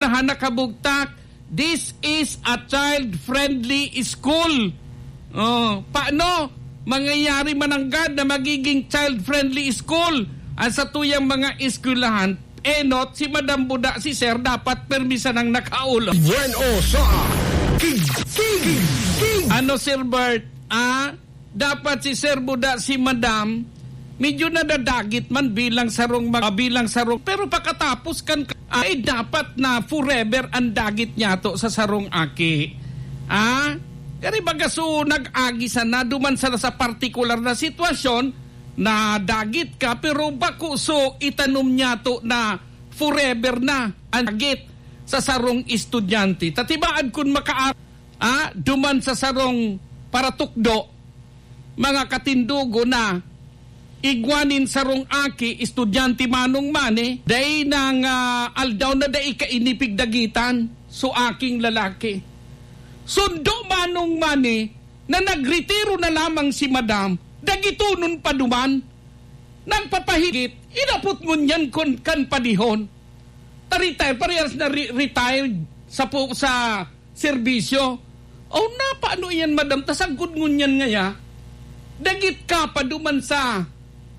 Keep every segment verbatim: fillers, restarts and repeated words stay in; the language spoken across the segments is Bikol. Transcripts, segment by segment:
ha nakabugtak, this is a child-friendly school. Oh, paano mangyayari mananggad na magiging child-friendly school ang satuyang mga eskwelahan? Enot, si Madam Buda, si Sir, dapat permi sanang nakaulo. Bueno sa King, King, King. Ano, Sir Bert? Ah, dapat si Sir Buda, si Madam, medyo nadadagit man bilang sarong mag-, bilang sarong, pero pakatapos kan, ay dapat na forever ang dagit niyato sa sarong aki. Ah? Kaya baga so nag-agi sana duman sa, sa partikular na sitwasyon, nadagit ka, pero bako so itanom niyato na forever na ang dagit sa sarong estudyante. Tatibaad kun maka-, ah, duman sa sarong paratukdo, mga katindogo na igwa nin sarong aki, estudyante manong mani, dai nang, ah, aldaw na dai kaini pigdagitan, so aking lalaki. Sundo manong mani na nagretiro na lamang si madam, dagitonon pa duman. Nagpapahigit, inapot ngunyan kon kan padihon. Ta-retire, parehas na re-, retired sa pu-, sa serbisyo. O, na, paano iyan, madam? Ta sagkod ngunyan ngaya, dagit ka pa duman sa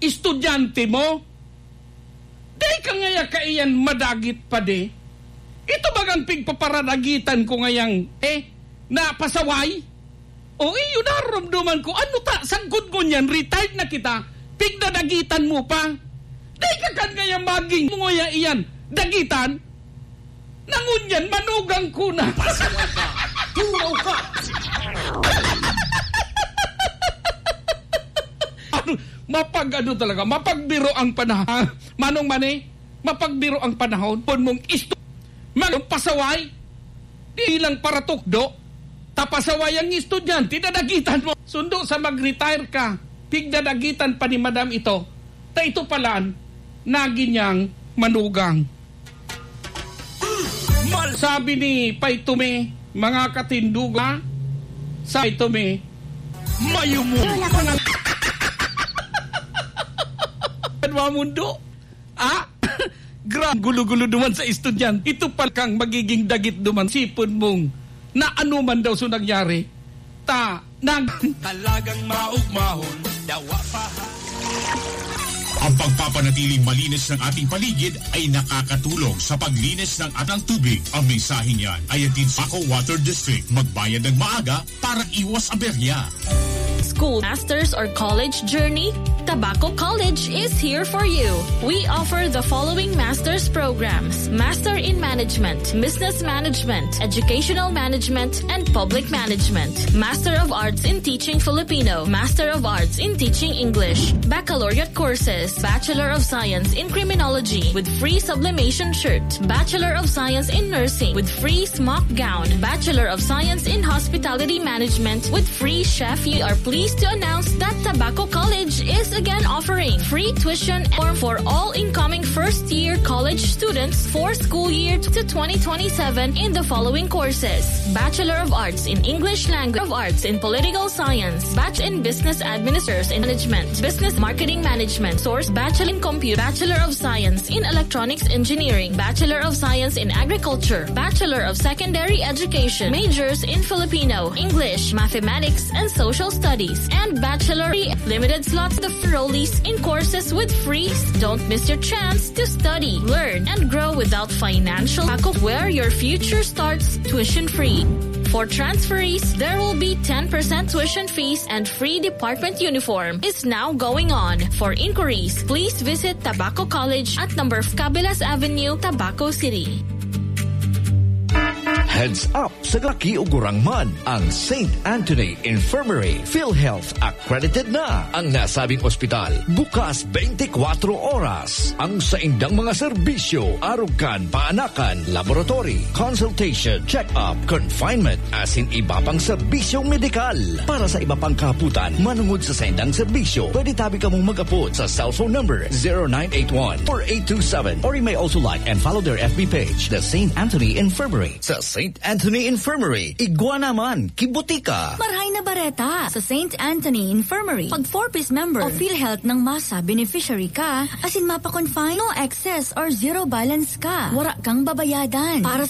estudyante mo? Dai ka ngaya kaiyan madagit pa di? Ito bagang pigpaparadagitan ko ngayang, eh, napasaway? O, iyo, naromdoman ko. Ano ta, sagkod ngunyan, retired na kita, pigdadagitan mo pa? Dai ka kan ngaya maging mo ngaya iyan, dagitan? Nangunyan, manugang ko na. Pasaway ka. Turaw ka. Ano, mapag-ano talaga, mapagbiro ang panahon. Manong Mani, mapagbiro ang panahon. Pon mong isto-, magpasaway. Di lang paratukdo. Tapasaway ang estudyante, dadagitan mo. Sundo sa mag-retire ka, pigdadagitan pa ni madam ito. Ta ito palan, nagi niyang manugang. Sabi ni Pay Tumi, mga katinduga, sa Pay Tumi, mayumo. Ano ang mundo? Ah? Gra-, gulo-gulo duman sa estudyante. Ito pa kang magiging dagit duman. Sipon mong na ano man daw so nangyari. Ta, nag- Talagang maugmahon, dawa pa ha. Ang pagpapanatiling malinis ng ating paligid ay nakakatulong sa paglinis ng atang tubig. Ang mensaheng yan ay hatid sa Paco Water District. Magbayad ng maaga para iwas aberya. School, master's or college journey? Tabaco College is here for you. We offer the following master's programs: Master in Management, Business Management, Educational Management, and Public Management. Master of Arts in Teaching Filipino, Master of Arts in Teaching English, Baccalaureate courses, Bachelor of Science in Criminology with free sublimation shirt, Bachelor of Science in Nursing with free smock gown, Bachelor of Science in Hospitality Management with free chef. We are pleased to announce that Tabaco College is again offering free tuition form for all incoming first-year college students for school year to twenty twenty-seven in the following courses: Bachelor of Arts in English Language, of Arts in Political Science, Bachelor in Business Administration and Management, Business Marketing Management, Source, Bachelor in Computer, Bachelor of Science in Electronics Engineering, Bachelor of Science in Agriculture, Bachelor of Secondary Education, majors in Filipino, English, Mathematics, and Social Studies, and Bachelor. Limited slots of enrollees in courses with free. Don't miss your chance to study, learn, and grow without financial lack of where your future starts tuition free. For transferees, there will be ten percent tuition fees and free department uniform is now going on. For inquiries, please visit Tabaco College at number Cabilas Avenue, Tabaco City. Heads up sa laki o gurang man, ang Saint Anthony Infirmary PhilHealth accredited na. Ang nasabing ospital, bukas twenty-four oras. Ang saindang mga serbisyo, arog kan paanakan, laboratory, consultation, check-up, confinement, asin iba pang serbisyong medikal. Para sa iba pang kahapotan, manungod sa saindang serbisyo, pwede tabi kamong mag-apod sa cellphone number zero nine eight one, four eight two seven, or you may also like and follow their F B page, The Saint Anthony Infirmary. Sa Saint Anthony Infirmary, igwa naman, kibutika. Marahay na bareta! Sa Saint Anthony Infirmary, pag four Ps member o PhilHealth ng MASA beneficiary ka, asin mapa-confine, no excess or zero balance ka. Wara kang babayadan. Para sa